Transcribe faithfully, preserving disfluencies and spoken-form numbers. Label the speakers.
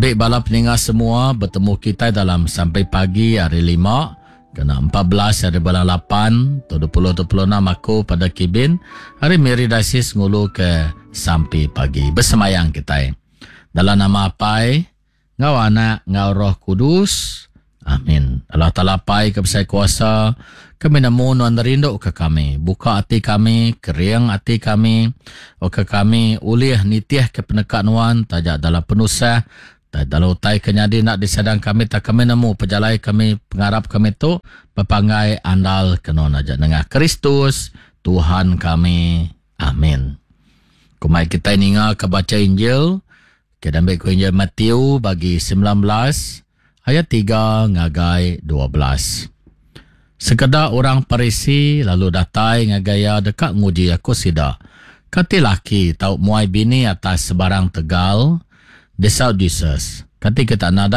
Speaker 1: Tabi bala peninga semua, betemu kitai dalam sampai pagi hari lima kena empat belas hari bulan lapan tahun dua puluh dua puluh enam aku pada Kibin hari Miri Diocese ngulu ke sampai pagi bersemayang kitai. Dalam nama Apai, ngau Anak, ngau Roh Kudus. Amin. Allah Taala Apai ke besai kuasa, kami nemu nuan rindu ke kami. Buka ati kami, kering ati kami, oka kami ulih nitih ke peneka nuan taja dalam penusah, taja dalam utai ke nyadi nak disadang kami, tak kami nemu pejalai kami, pengarap kami tu bepanggai andal ke nuan aja nengah Kristus Tuhan kami. Amin. Kumai kita ninga ke baca Injil, ke dambe ku Injil Matthew bagi sembilan belas ayat tiga ngagai dua belas. Sekeda orang Parisi lalu datai ngagai iya deka nguji aku sida. Kati laki tau muai bini atas sebarang tegal? Desau Jesus. Kati kita nadai